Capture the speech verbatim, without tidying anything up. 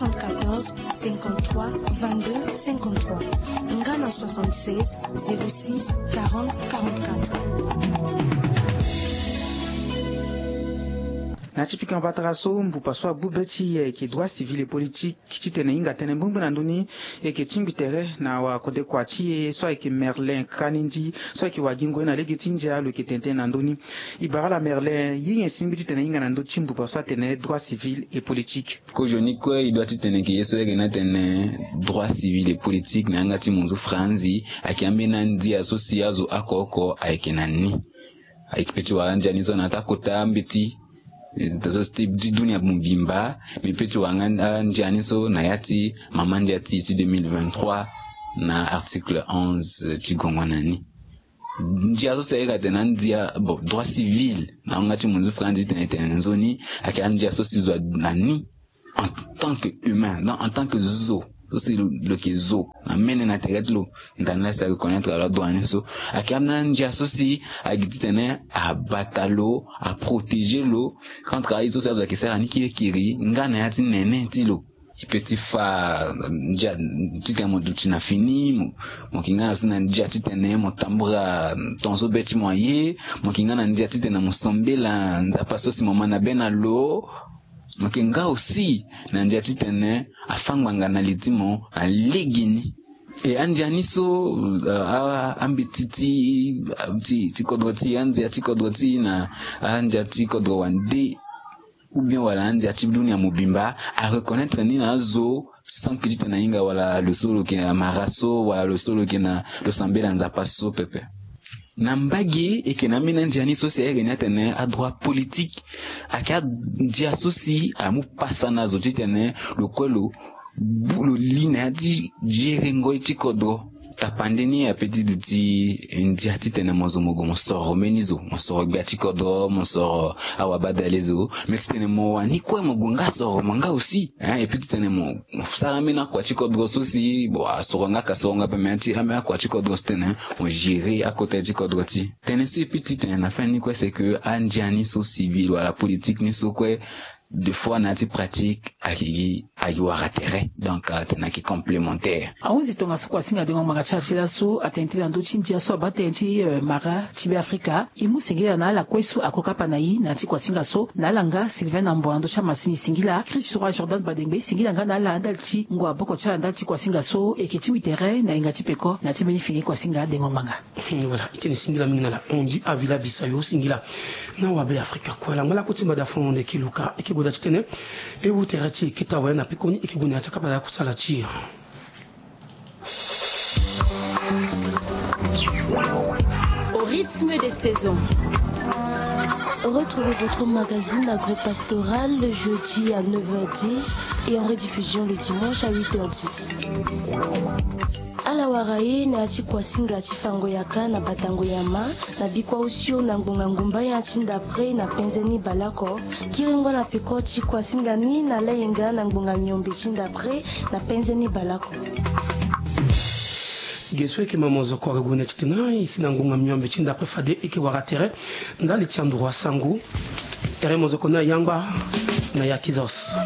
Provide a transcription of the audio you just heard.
soixante-quatorze, cinquante-trois, vingt-deux, cinquante-trois. Nga na soixante-seize, zéro six, quarante, quarante-quatre. Na ti pika mbatara so mbupa so abu be ti e ayeke droit civil et politique titene e hinga tënë mbongbe na ndö ni. E yeke tingbi tere na wakodekua ti e so ayeke Merlin Kanindi so ayeke wagingo ye na lege ti ndia lo yeke tene tënë na ndö ni. E bara ala Merlin ye nyen singbi titene e hinga na ndö ti mbupa so atene droit civil et politique. Kozoni kue e doit titene e yeke ye so e yeke ni atene droit civil et politique na yanga ti munzu franzi. Ayeke ambeni andia so si azo oko oko ayeke na ni. Ayeke pe ti wara andia ni so na ya ti akota mbeti, eh, so ti dunia mobimba. Mbi pe ti wara nga andia ni so na ya ti mama ndia ti ti deux mille vingt-trois na article onze ti gongo na ni. Ndia so si ayeke atene andia, bon, droit civil na yanga ti munzu franzi titene e tene nzoni. Ayeke andia so si zo na ni en tant que humain, donc en tant que zo so si lo, lo yeke zo na mene na tere ti lo. Ndani laa si areconnaître ala droit ni so. Ayeke ambeni andia so si agi titene abata lo, aprotégé lo contre aye so si azo ayeke sara ni kirikiri nga na ya ti nene ti lo. E pe ti fa ndia titene mo duti na fini, mo, mo yeke nga na so na ndia titene mo tambula ton so be ti mo aye. Mo yeke nga na ndia titene mo sambela Nzapa so si mo ma na be na lo. Mo yeke nga aussi na ndia titene afa ngbanga na li ti mo na legeni. E andia ni so, euh, a, ambeti ti, ti, ti kodro ti, andia ti kodro ti na andia ti kodro wande, ou bien wala andia ti dunia mobimba areconnaître ni na azo sans que titene ahinga wala lo so lo yeke na mara so wala lo so lo yeke na lo sambela Nzapa so pepe. Na mbage e yeke na ambeni andia ni so si ayeke ni atene adroit politique. Ayeke andia so si amu pasa na zo titene lo kue lo bu lo li na ya ti gerengo ye ti kodro. Tapande ni ape ti duti ndia titene mo zo mo gue mo soro mbeni zo, mo soro gbia ti kodro, mo soro awabadale zo. Me titene mo wani kue mo gue nga soro mo nga aussi, hein, e pe titene mo, mo sara ambeni akua ti kodro so si, bon, asoro nga ka soro nga ape, me ti ambeni akua ti kodro so titene mo gérer akota ye ti kodro ti. Tënë so e pe titene na fin ni kue c'est que andia ni so civil wala politique ni so kue, des fois na ya ti pratique agi, agi wara tere. Donc, euh, atene ayeke complémentaire. Ahunzi tongaso kuasinga dengo ngbanga ti ala ti laso atene tënë na ndö ti ndia so abaa tënë ti, euh, mara ti Beafrika. E mu singila na ala kue so ako kapa na e na ya ti kuasinga so, na ala nga Sylvain Nambo na ndö ti amasini singila, Chris Roi Jordan Badengbe singila nga na ala ndali ti ngu aboko ti ala ndali ti kuasinga so. E yeke tingbi tere na yinga ti peko na ya ti mbeni fini kuasinga dengo ngbanga. Hmm, voilà, e tene singila mingi na ala. Hundi Avila Bisayo singila. Na wabe Afrika kue ala ngba lakue ti mbada fo na honde e ke luka, e ke gue daa titene e wu tere ti e keta waya na pekoni, e ke gue na ya ti akapa daa kusala ti e. Au rythme des saisons. Retrouvez votre magazine agropastoral le jeudi à neuf heures dix et en rediffusion le dimanche à huit heures dix. Ala wara e na ya ti kuasinga ti fango yaka na batango yama na bikua osio na ngbonga ngumba ya ti ndapre na penze ni baleoko. Kiringo na peko ti kuasinga ni na layenga na ngbonga miombe ti ndapre na penze ni baleoko. Ge so e yeke ma mozoko ague gue na titene e si na ngbonga miombe ti ndapre fade e yeke wara tere ndali ti anduru asango. Tere mozoko ni ayangba na ya Kizos.